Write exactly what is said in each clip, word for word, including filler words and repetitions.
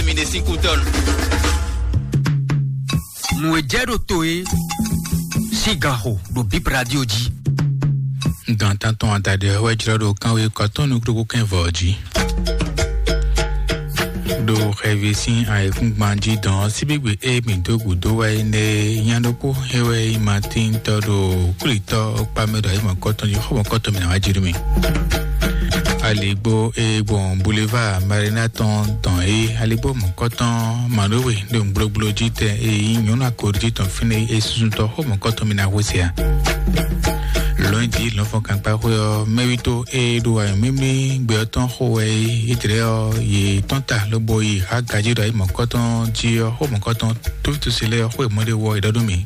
Mi ɖe sín kú tɔn. Nǔ e jɛ ɖo to e sín gan xo ɖo Bip Radio jí. Dɔn tantɔn adaɖe wɛ jlɔ́ ɖo kánwé kɔtɔn nukúɖokú kɛn vɔ jí. Ɖo xɛvi sín ayǐkúngban jí dɔn síbígbe e mǐ dó gǔdo wɛ é nɛ́ nya ɖokpó é wɛ nyí Matín tɔ́ ɖo kwlítɔ́ kpá mɛ ɖo ayǐ mɔ̌kɔtɔn jí xó mɔ̌kɔtɔn mǐ ná wá jí nú mì. Aligbó e gbɔn Boulevard Marina tɔn tɔn é, aligbó mɔ̌kɔtɔn Manowe ɖo gblogblo jí tɛ e nyí nyɔ̌nu akɔɖují tɔn fínɛ́ é, susuntɔ xó mɔ̌kɔtɔn mǐ ná hwesɛ a? Lɔ̌nyijǐ lɔ̌nfɔ́nkankpáxwé ɔ́, mɛwító e ɖo anyǔmímí gbɛ ɔ́ tɔn xo wɛ é, é jlɛ́ ɔ́, yě tɔ́n ta lobo yi hǎ gají ɖo ayǐ mɔ̌kɔtɔn jí ɔ́, xó mɔ̌kɔtɔn tófítɔ́sí lɛ́ɛ ɔ́, xó e mɔ ɖé wɔ è ɖɔ nú mì.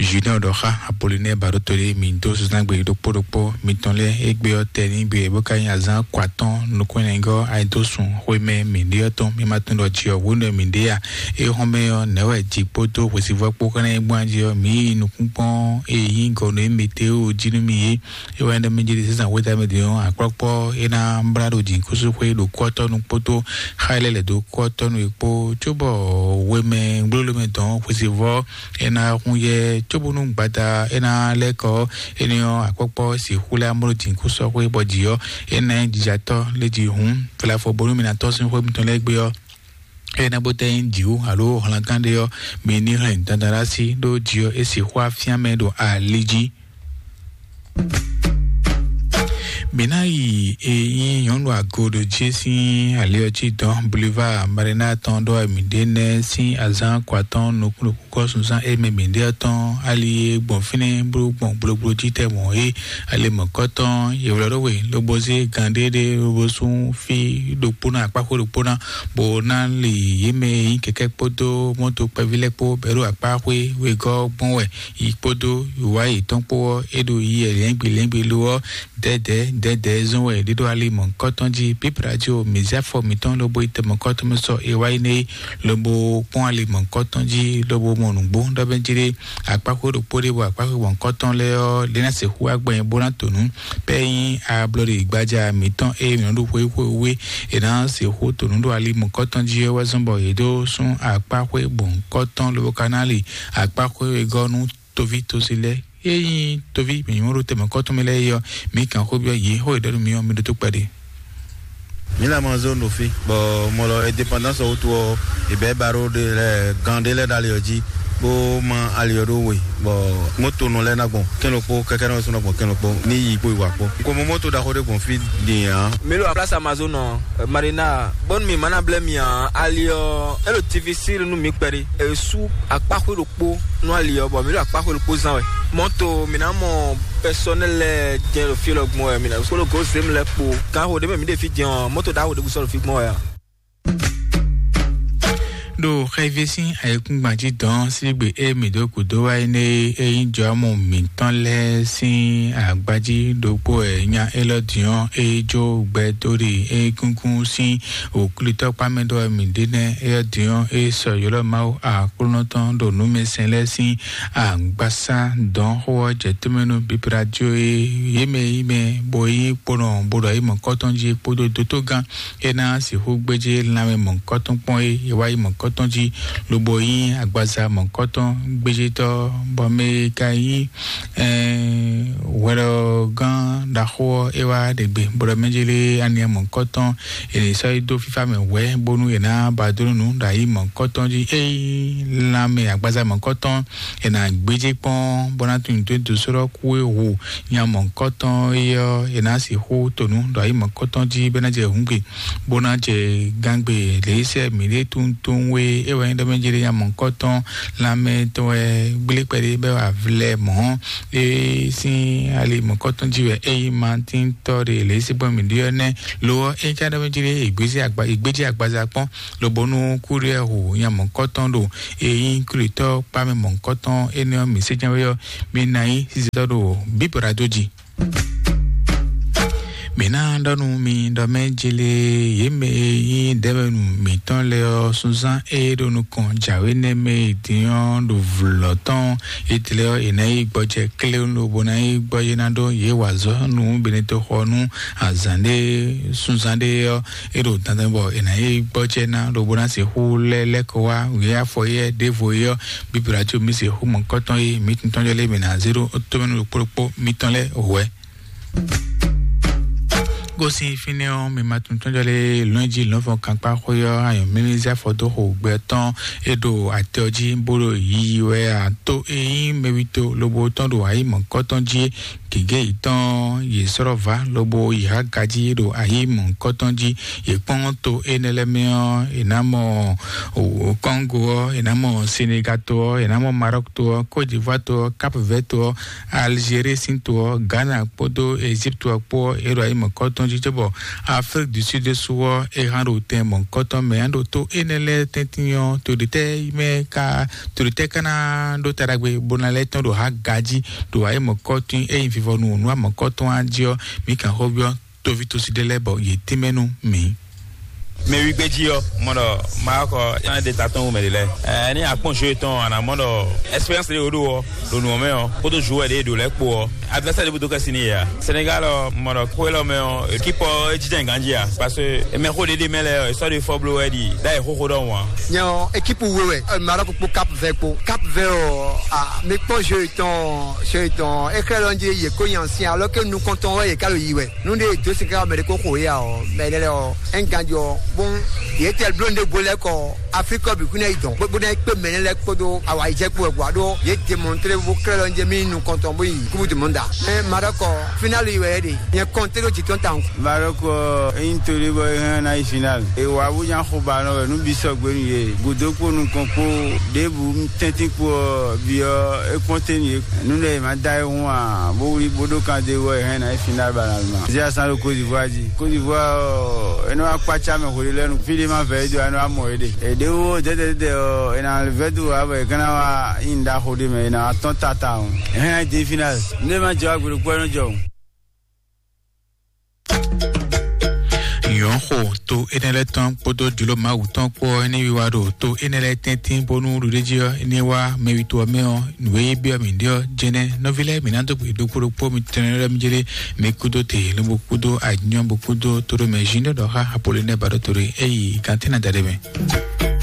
Junior ɖɔ xá Apollinaire Baɖótolé mǐ dó zunzán gbe ɖokpó ɖokpó mitɔn lɛ́ɛ égbé ɔ́ tɛ ní gbe bó ka nyí azǎn kɔ atɔ́ɔ́n nukún ɛnɛgɔ́ ayidósun xwé mɛ mǐ ɖe ɔ́ tɔn, mi ma tunwun ɖɔ jǐ ɔ́ hwenu e mǐ ɖe a? É hɔn mɛ ɔ́, nɛ̌ wɛ jǐ kpódó hwesivɔ́ kpó ka ná yi gbɔn jí ɔ́, mǐ yi nukúnkpɔ́n e nyí gɔ̌ nú émítɔ́ jí nú mì é. É wɛ nyí ɖɔ mɛ jeli zǐzan wéta mɛ din ɔ́, akpɔ́kpɔ́ é ná blá ɖo jǐnukúnsin xwé ɖo kú ɔ́ tɔn nu kpódó xá e lɛ́ lɛ̌ dó kú ɔ́ tɔn nu é kpó, cóbɔ hwemɛ gblóló mɛ dɔn xwesivɔ́ é ná hún yɛ cóbónú gbada é ná lɛ́ kɔ énɛ́ ɔ́, akpɔ́kpɔ́ sixú lɛ́ amló jǐnukúnsɔ́xwé bɔ jǐ ɔ́ é ná nyí jijatɔ́ lé jí hǔn flafɔ bónú mi ná tɔ́ sín xwé mitɔn lɛ́ɛ gbé ɔ́, é ná bó tɛ́ nyí jǐwú alo hlangán ɖé ɔ́, mi ní hɛn dandan ɖó así ɖó jǐ ɔ́ é sixú afyán mɛ ɖo ali jí. Mǐ ná yi e nyí nyɔ̌nu agoɖojí sín ali ɔ́ jí dɔn Boulevard Marina tɔn ɖó mǐ ɖe nɛ́ sín azǎn kɔ atɔ́ɔ́n nukúnnukún kɔ́ sunzán e mɛ mǐ ɖe ɔ́ tɔn ali e gbɔn fínɛ́ bó gbɔn gblogblo jí tɛ mɔ̌ é. Ali mɔ̌kɔtɔn yě wlɛ́ ɖó we lobo zé gan ɖé ɖé lobo sú fí ɖokpó ná akpáxwé ɖokpó ná, bó ná li yě mɛ e nyí kɛkɛ́ kpódó mɔ́to kpɛví lɛ́ɛ kpó bɛ̌ ɖo akpáxwé wegɔ́ gbɔn wɛ. Yi kpódó wǐwá yětɔn kpó ɔ́, é ɖo yi lɛ̌ngbǐ lɛ̌ngbǐ lo ɔ́, dɛ̌dɛ̌ dɛ̌dɛ̌ zɔ́n wɛ ɖé ɖo ali mɔ̌hunkɔtɔn jí. Pípla jí o, mǐ zé afɔ mǐtɔn lobo yi tɛnmɔ̌kɔtɔn mɛ sɔ e wá yi nɛ́ é, lobo kpɔ́n ali mɔ̌hunkɔtɔn jí, lobo mɔ nǔgbó ɖɔ bɛ́ jí ɖé akpáxwé ɖokpó ɖé, bɔ akpáxwé mɔ̌hunkɔtɔn lɛ́ɛ ɔ́, lě ná sixú wá gbɛn bó ná to nǔ. Pɛ́ nyí ablɔɖe gbaja mǐtɔn e mǐ nɔ ɖo xwé xwé wé, è nǎ sixú to nǔ ɖo ali mɔ̌hunkɔtɔn jí ɔ́ wɛ zɔ́n bɔ yě dó sún akpáxwé mɔ̌hunkɔtɔn lobo ka ná li akpáxwé wegɔ́ nú toví tosi lɛ́ɛ. Ényí toví mǐnyɔ́ ɖo tɛmɛkɔ́tɔn mɛ lɛ́ɛ é ɔ́, mǐ kan xó byɔ́ yě, xó e ɖɔ nú mì ɔ́, mi ɖótó kpɛɖé. Mǐ lɛ mɔ zone ɖo fí, bɔ mɔ lɔ indépendance ɔ́ wútu ɔ́, è bɛ̌ baro ɖé lɛ́ɛ gan ɖé lɛ́ɛ ɖo ali ɔ́ jí, bó má ali ɔ́ ɖó we, bɔ mɔ́tonɔ lɛ́ɛ ná gbɔn kɛ́n ɖokpó, kɛ́kɛ́nɔ ɔ́ sɔ́ ná gbɔn kɛ́n ɖokpó ní yi kpó yi wǎ kpó. Ko mɔ mɔ́to ɖaxó ɖé gbɔn fí din ǎ. Mi lo place Amazon ɔ, Marina, bɔn mi ma na blɛ mi a, ali ɔ, elo T V C nu mi kpɛɖe. E su akpaxwe ɖokpo nu ali ɔ, bɔ mi lo akpaxwe ɖokpo zan wɛ. Mɔto mi na mɔ personnel lɛ jɛ lo fi lɔ gbɔn wɛ, mi na solo go zem lɛ kpo. Kan ho de mɛ mi de fi jɛ ɔ, mɔto da ho de bu sɔ lo fi gbɔn wɛ a. Ɖo xɛvi sín ayǐkúngban jí dɔn sín gbe e mǐ dó gǔdo wá é nɛ́ é nyí jɔ̌mɔ mǐtɔn lɛ́ɛ sín agbají ɖokpó wɛ nya élɔ́ din ɔ́, é jó gbɛ dó ɖi égúngún sín wǔklítɔ́kpá mɛ ɖɔ wɛ mǐ ɖe nɛ́. Éyɔ́ din ɔ́, é sɔ ylɔ́ Mawu Aklúnɔ tɔn ɖo nǔmɛsɛn lɛ́ɛ sín agbasá dɔn xó ɔ́ jɛ tómɛ nú bíblá jó é. Yě mɛ yí mɛ bɔ é nyí kponɔ bó ɖɔ é mɔ̌kɔ́tɔn jí kpódó dótógán é ná sixú gbéjé lanmɛ mɔ̌kɔ́tɔn kpɔ́n é, é wá yi mɔ̌kɔ́tɔn jí, lobo nyí agbaza mɔ̌kɔ́tɔn gbéjétɔ́, bɔ mɛ e ka nyí hwɛɖɔgán ɖaxó ɔ́, é wá ɖe gbe bó ɖɔ mɛ jélé aniɛ mɔ̌kɔ́tɔn è nǐ sɔ́ yi dó fífá mɛ hwɛ̌, bónú è nǎ ba dó nú nǔ ɖo ayǐ mɔ̌kɔ́tɔn jí. Ényí lanmɛ agbaza mɔ̌kɔ́tɔn è nǎ gbéjé kpɔ́n bó ná tunwun dó dó sɔ́ ɖɔ kú é hu nya mɔ̌kɔ́tɔn é ɔ́, è nǎ sixú to nǔ ɖo ayǐ mɔ̌kɔ́tɔn jí bó ná jɛ hǔngbe, bó ná jɛ gángbe lě sɛ mǐɖée tunwun tunwun é. É wɛ nyí ɖɔ mɛ jélé nya mɔ̌kɔ́tɔn lanmɛ tɔn wɛ gblé kpɛɖé bɛ wà vlɛ mɔ̌. É sín ali mɔ̌kɔ́tɔn jí wɛ é nyí Matíntɔ́ ɖe lě sí gbɔn mǐ ɖi ɔ́ nɛ́. Lo ɔ́, é ká ɖɔ mɛ jí ɖé, è gbéjé agba-, è gbéjé agbaza kpɔ́n, lobo nú kúɖiɛ́ hu nya mɔ̌kɔ́tɔn ɖo é nyí klitɔ́ kpá mɛ mɔ̌kɔ́tɔn énɛ́ ɔ́, mǐ sé jɛ́n wé ɔ́, mi ná nyí sísɛtɔ́ ɖo bíbɔ́ɖá dó jí. Mǐ ná ɖɔ nú mi ɖɔ mɛ jélé yě mɛ e nyí Dɛmɛnu mǐtɔn lɛ́ɛ ɔ́, súnzán e ɖo nukɔn jǎwe nɛ́ mɛ e din ɔ́ ɖo vlɔ̌ tɔn. Étɛlɛ ɔ́, è nǎ yi gbɔjɛ kléwún lobo ná yi gbɔjɛ ná ɖó yě wa azɔ̌ nú benetoxɔ nú azǎn ɖé súnzán ɖé ɔ́, é ɖo dandan bɔ è nǎ yi gbɔjɛ ná lobo ná sixú lɛ́ lɛ́ kɔ wá wǐ afɔ yɛ ɖěvo é ɔ́, bíbí ɖo mǐ sixú mɔ̌kɔtɔn e mǐ tɔn jɔ lé mǐ ná zé ɖó tómɛnu ɖokpó ɖokpó mǐtɔn lɛ́ɛ wɛ. Gosin fínɛ́ ɔ́, mi ma tunwun tɔ́jɔ́ lé lɔ̌njí lɔ̌nfɔn kankpá xwé ɔ́, ayɔ̀mínísí afɔdóxo gbɛ tɔn é ɖo atɛ ɔ́ jí bó ɖo yiyi wɛ ǎ. Tó e nyí mɛwító lobo tɔn ɖo ayǐ mɔ̌kɔ́tɔn jí gěgé yětɔn yě sɔ́ vǎ lobo yi há gají ɖo ayǐ mɔ̌kɔ́tɔn jí. Yě kpɔ́n to énɛ́ lɛ́ɛ mɛ ɔ́, è nǎ mɔ Kɔ́ngo ɔ́, è nǎ mɔ Senegato ɔ́, è nǎ mɔ Marɔ́k to ɔ́, Kɔ́tiɖivwá to ɔ́, Kapvɛ́ to ɔ́, Alzérie sín to ɔ́, Ghana kpódó Egypte ɔ́ kpó ɔ́, é ɖo ayǐ mɔ̌kɔ́tɔn jí cóbɔ Afrique du Sud ɖésú ɔ́, é hán ɖo tɛn mɔ̌kɔ́tɔn mɛ. Á ɖo tó énɛ́ lɛ́ɛ tɛ́ntin ɔ́, to ɖětɛ́ mɛ ka to ɖětɛ́ ka ná ɖó ta ɖagbe bó ná lɛ́ tɔ́n ɖo há gají ɖo ayǐ mɔ̌kɔ́tɔn e nyí vivɔnu nú amɔ̌kɔ́tɔn á jí ɔ́, mǐ kan xó byɔ́ toví tosi ɖé lɛ́ɛ bɔ yě tɛ́nmɛ nú mǐ. Mɛ wígbéjí ɔ́, mɔ ɖɔ Maroc ɔ́, é ná ɖe ta tɔn wú mɛ ɖě lɛ́ɛ. Ɛ, ní akpɔ́n jeu tɔn, a nǎ mɔ ɖɔ expérience ɖé wǒ ɖo ɔ́, ɖo nǔ ɔ́ mɛ ɔ́, kpódó joueur ɖé e ɖo lɛ́ɛ kpó ɔ́, adversaire ɖěbǔ dó kɛ́ sin n'i yě a. Sénégal ɔ́, mɔ ɖɔ xwé lɔ mɛ ɔ́, équipe ɔ́, é jínjɔ́n ganjí a, parce que mɛxó ɖé ɖé mɛ lɛ́ɛ ɔ́, è sɔ́ ɖo fɔ bló wɛ ɖi ɖ'ayǐ xóxó ɖɔhun ǎ. Nyɛ ɔ́, équipe we wɛ, ɛ, Maroc kpó Cap Vert kpó. Cap Vert ɔ́, a, mi kpɔ́n jeu tɔn, jeu tɔn, é xlɛ́ ɖɔ jɛ yě ko nyi asin, alors que nukɔntɔn wɛ yě ka ɖo yi wɛ. Nú ɖé dó sin ká mɛ ɖé kó xo yá ɔ́, mɛ lɛ́ ɔ́, é ń ganjɔ, bó yě tɛ bló ɖé bo lɛ́ kɔ Afrique ɔ́ bǐ kún ná yi dɔn, bó ná yi kpé mɛ lɛ́ kpódó awǎyijɛ kpó wɛ, bó wá ɖó yě démontré bó klɛ́ ɖɔ jɛ mí nukɔntɔn bó yi Coupe du Monde a. Mɛ Maroc ɔ́, finale yi wɛ é ɖe. Nyɛ kɔnté ɖó jǐ tɔn tawun. Maroc ɔ́, é nyí to ɖé bɔ é hɛn ná yi finale. È wǎ bó nya xo ba nɔ wɛ nú bǐ sɔgbe nú yě. Gǔdo kpó nukɔn kpó ɖěbǔ tɛ́ntin kpó ɔ́, bǐ ɔ́, é kpɔ́n te nú yě. Nú lɛ è ma da ayihún ǎ, bó wlí bó ɖó kan dó wɛ hɛn ná yi finale ba ná ma. Zia san ɖo Côte d'Ivoire jí. Côte d'Ivoire ɔ́, é nɔ wá kpácá mɛ hwelé lɛ́ɛ nu. Fí ɖé ma vɛ é dó, é nɔ wá mɔ é ɖe. È ɖě wó dɛ́dɛ́dɛ́dɛ́ ɔ́, è nǎ vɛ́ dó wǎ bɔ è ka ná wá nyi nǔ ɖaxó ɖé mɛ, è nǎ wá tɔ́n tata ɔ́. È hɛn ná yi demi finale. Nú é ma jɛ wá gbe ɖokpó ɔ́, é nɔ jɔ. Nyɔ̌xo to énɛ́ lɛ́ɛ tɔn kpódó jlǒ Mawu tɔn kpó ɔ́, é ní wiwa ɖo to énɛ́ lɛ́ɛ tɛ́ntin bónú ɖuɖéjí ɔ́, é ní wá mɛ wi to ɔ́ mɛ ɔ́, nǔ e yí byɔ́ mǐ ɖe ɔ́ jɛnɛ. Nɔví lɛ́ɛ, mǐ ná dó gbe ɖokpó ɖokpó mitɔn lɛ́ɛ mi jlé, mi kúdó te, lobo kúdó anyɔ, bo kúdó toɖomɛ Junior ɖɔ xá Apolonɛ ba ɖó toɖo é yi gantɛ́ ná da ɖé mɛ.